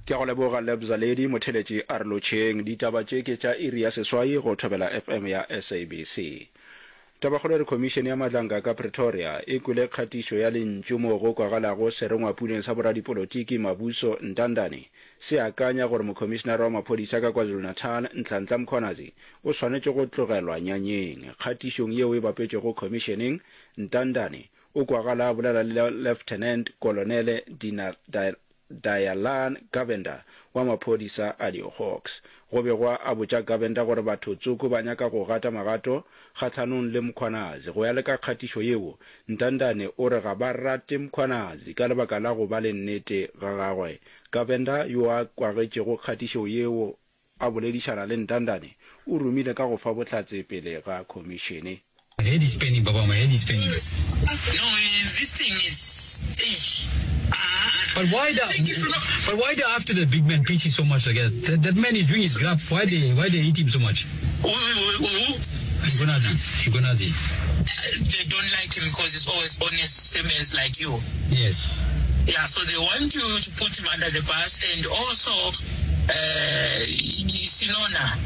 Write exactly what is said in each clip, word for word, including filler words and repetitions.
Ke a go leboga Lebza Lady, motheletši a re lotšheng. Ditaba tše ke tša iri ya seswai go Thobela F M ya S A B C. Tabakgolo e re Khomišene ya Matlanka ka Pretoria e kwele kgatišo ya lentšu moo go kwagalago serengwapuleng sa boradipolotiki Mabuso Ntandane se akanya gore Mokhomišenare wa Maphodisa ka KwaZulu-Natal Nhlanhla Mkhwanazi o swanetše go tlogelwa nyanyeng. Kgatišong yeo e bapetšwego khomišeneng, Ntandane o kwagala a bolela le Lieutenant Kolonele Dina Dayalan Govender wa maphodisa a di-Hawks. Go begwa a botša Govender gore batho tsoko ba nyaka go gata magato kgahlanong le Mkhwanazi. Go ya le ka kgatišo yeo, Ntandane o re ga ba rate Mkhwanazi ka lebaka la go ba le nnete ga gagwe. Govender, yo a kwagetšego kgatišo yeo a boledišana le Ntandane, o rumile ka go fa bohlatse pele ga khomišene. My head is paining, Baba. My head is paining. No, this thing is. Ah, But why the, think if you know- but why they after the big man P C so much like that? That, that man is doing his graft. Why they why they hate him so much? Who, who, who? Mkhwanazi. Mkhwanazi. They don't like him because he's always honest, same as like you. Yes. Yeah, so they want you to put him under the bus and also uh, Sinona.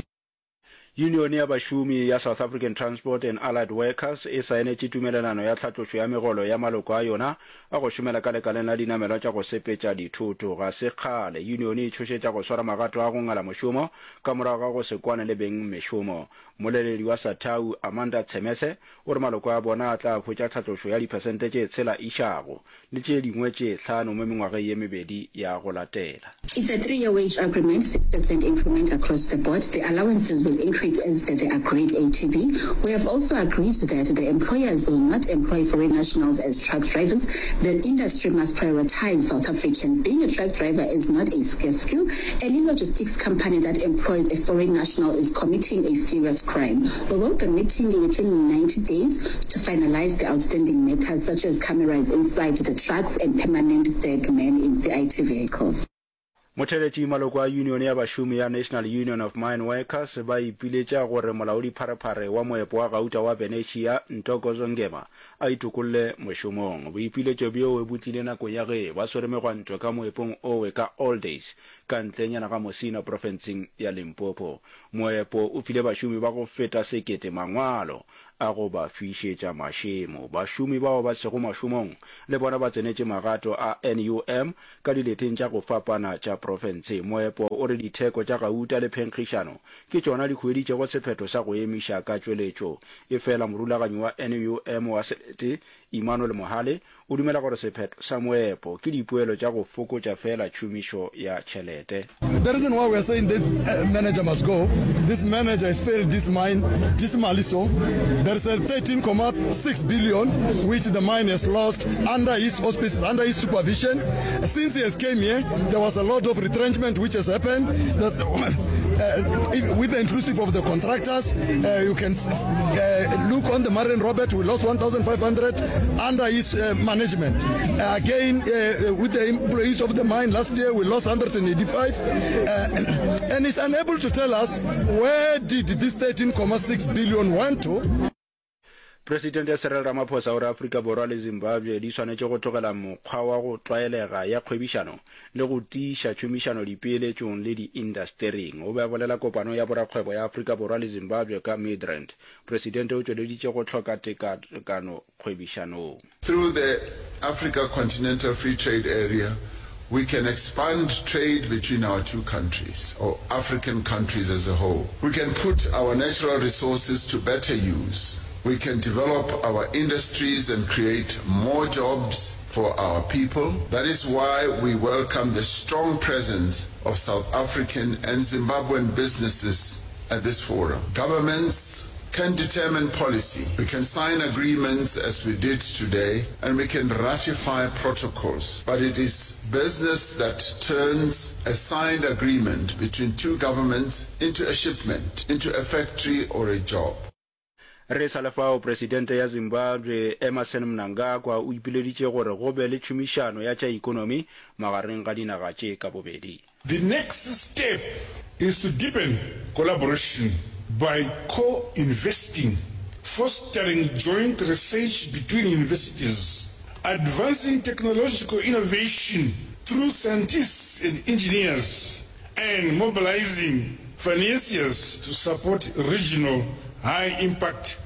Yunione ya bašomi ya South African Transport and Allied Workers e saenetše tumelelano ya tlhatlošo ya megolo ya maloko a yona a go šomela ka lekaleng la dinamelwa tša go sepetša dithoto. Ga se kgale yunione e tšhošetša go swara magato a go ngala mošomo ka morago ga go se kwane le beng mešomo. Mmoleledi wa SATAWU Amanda Tshemese o re maloko a bona a tla hwetša tlhatlošo ya diphesente tše tshela išago le tše dingwe tše hlano mo mengwageng ye mebedi ya go latela. It's a three-year wage agreement, six percent increment across the board. The allowances will increase as per the agreed A T B. We have also agreed that the employers will not employ foreign nationals as truck drivers. The industry must prioritize South Africans. Being a truck driver is not a scarce skill. Any logistics company that employs a foreign national is committing a serious crime. We will be meeting within ninety days to finalize the outstanding matters, such as cameras inside the trucks and permanent third man in C I T vehicles. Motheletši, maloko a yunione ya bašomi ya National Union of Mine Workers ba ipiletša gore molaodipharephare wa moepo wa gauta wa Venetia Ntokozo Ngema a itokolle mošomong. Boipiletšo bjowe bo tlile nakong ya ge ba swere megwanto ka moepong owe ka Alldays ka ntlenyana ga Musina profenseng ya Limpopo. Moepo o file bašomi ba go feta sekete mangwalo a go ba fišetša mašemo. Bašomi bao ba sego mašomong le bona ba tsenetše magato a N U M ka dileteng tša go fapana tša profense. Moepo o re ditheko tša gauta le phenkgišano ke tšona di hueditšego sephetho sa go emiša ka tšweletšo. Efela morulaganyi wa N U M wa selete Emmanuel Mohale o dumela gore sephetho sa moepo ke dipoelo tša go fokotša fela tšhomišo ya tšhelete. The reason why we are saying this uh, manager must go, this manager has failed this mine dismally so. There is a thirteen point six billion which the mine has lost under his auspices, under his supervision. Since he has came here, there was a lot of retrenchment which has happened. That, uh, with the inclusive of the contractors, uh, you can uh, look on the Marian Robert, we lost one thousand five hundred under his uh, management. Uh, again, uh, with the employees of the mine last year, we lost one hundred eighty-five. Uh, and he's unable to tell us where did this thirteen point six billion went to. Presidente Cyril Ramaphosa o re Afrika Borwa le Zimbabwe di swanetše go tlogela mokgwa wa go tlwaelega ya kgwebišano le go tiiša tšhomišano dipeeletšong le diindastering. O be a bolela kopano ya borakgwebo ya Afrika Borwa le Zimbabwe ka Midrand. Presidente o tšweleditše go hloka tekatekano kgwebišanong. Through the Africa Continental Free Trade Area, we can expand trade between our two countries, or African countries as a whole. We can put our natural resources to better use. We can develop our industries and create more jobs for our people. That is why we welcome the strong presence of South African and Zimbabwean businesses at this forum. Governments can determine policy. We can sign agreements as we did today, and we can ratify protocols. But it is business that turns a signed agreement between two governments into a shipment, into a factory or a job. Re sa le fao, Presidente ya Zimbabwe Emmerson Mnangagwa o ipileditše gore go be le tšhomišano ya tša ekonomi magareng ga dinaga tše ka bobedi. The next step is to deepen collaboration by co-investing, fostering joint research between universities, advancing technological innovation through scientists and engineers and mobilizing financiers to support regional high-impact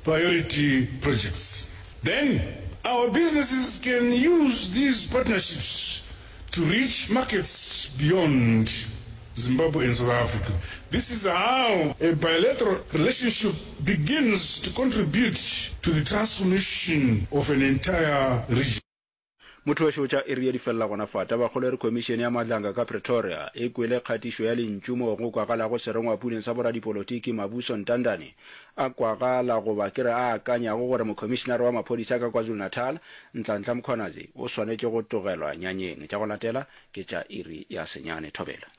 priority projects. Then, our businesses can use these partnerships to reach markets beyond Zimbabwe and South Africa. This is how a bilateral relationship begins to contribute to the transformation of an entire region. Motho wešo tša iri ye di felela gona fa. Tabakgolo e re Khomišene ya Madlanga ka Pretoria e kwele kgatišo ya lentšu moo go kwagalago serengwapuleng sa boradipolotiki Mabuso Ntandane a kwagala goba ke re a akanyago gore Mokhomišenare wa Maphodisa ka KwaZulu-Natal Nhlanhla Mkhwanazi o swanetše go tlogelwa nyanyeng. Tša go latela ke tša iri ya senyane. Thobela.